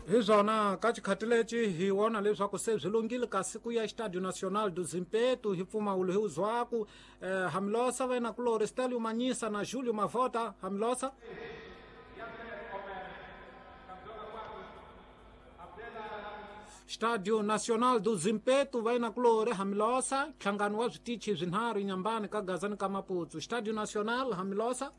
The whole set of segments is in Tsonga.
Hi swona ka xikhati lexi hi vona leswaku se byi lunghile kasi ku ya Estadio Nacional do Zimpeto hi mpfumawulo hi uzwaku Hamilosa va yena-kulorhi Stelio Manyisa na Julio Mavota. Hamilosa. Estadio Nacional do Zimpeto va yena-kulorhi Hamilosa, nhlangano wa switichi swinharhu Inhambane ka Gaza ni ka Maputo. Estadio Nacional Hamilosa.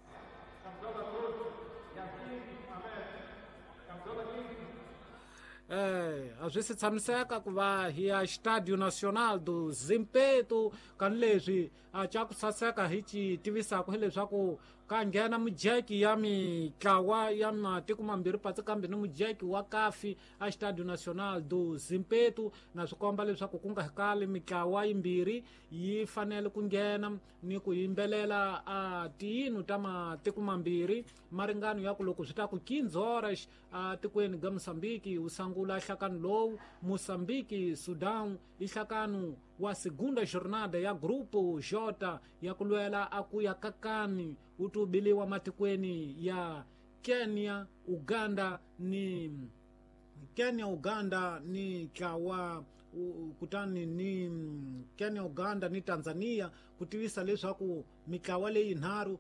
A swi si tshamiseka ku va hi ya Estadio Nacional do Zimpeto kani leswi a xa ku saseka hi ci tivisaka hileswaku ka nghena mujeki ya mitlawa ya matiko mambirhi patsi kambe ni mujeki wa kafi a Estadio Nacional do Zimpeto, na swi komba leswaku ku nga kali mitlawa yimbirhi yi fanele ku nghena ni ku yimbelela a tiyinu ta matiko mambirhi maringano ya ku loko swi ta ku 15 horas a tikweni ga Mozambique wu sangula nhlakano lowu. Mozambique Sudan i nhlakano wa segunda jornada ya Grupo J ya ku lwela a ku ya kakani wu tubiliwa matikweni ya Kenya, Uganda ni Kenya, Uganda ni ntlawa kutani ni Kenya, Uganda ni Tanzania, ku tivisa leswaku mitlawa leyinharhu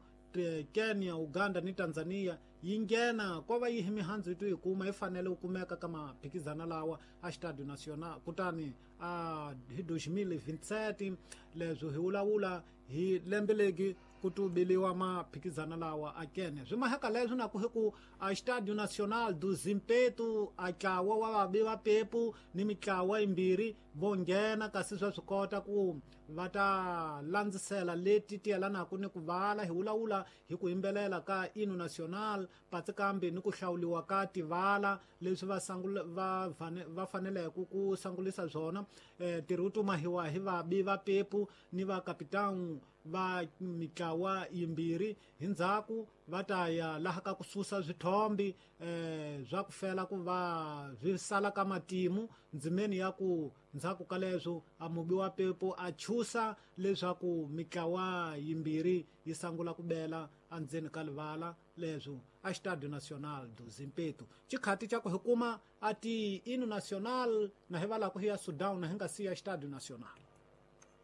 Kenya, Uganda ni Tanzania yi nghena ko va yihi mihandzu yi to yi kuma yi fanele ku kumeka ka maphikizana lawa a Estadio Nacional kutani a hi 2027. Leswi hi vulavula hi lembe legi ku tubiliwa maphikizana lawa a Kenya. Swi maheka leswi na ku hi ku a Estadio Nacional do Zimpeto a ntlawa wa vabi va pepu ni mitlawa yimbirhi vo nghena, kasi swa swi kota ku va ta landzisela leti ti yelanaka ni ku vala. Hi vulavula hi ku yimbelela ka Hino Nacional patsi kambe ni ku hlawuliwa ka tivala leswi va va faneleke ku sangulisa swona. Ntirho wu tumahiwa hi vabi va pepu ni va kapitani va mitlawa yimbirhi. Hi ndzhaku va ta ya laha ka ku susa swithombi swa ku fela ku va swi sala ka matimu ndzimeni ya ku ndzhaku ka leswo a mubi wa pepu a chusa leswaku mitlawa yimbirhi yi sangula ku bela endzeni ka livala leswo a Estadio Nacional do Zimpeto. Xikhati xa ku hi kuma a ti Hino Nacional na hi valaka hi ya Sudan na hi nga siya Estadio Nacional.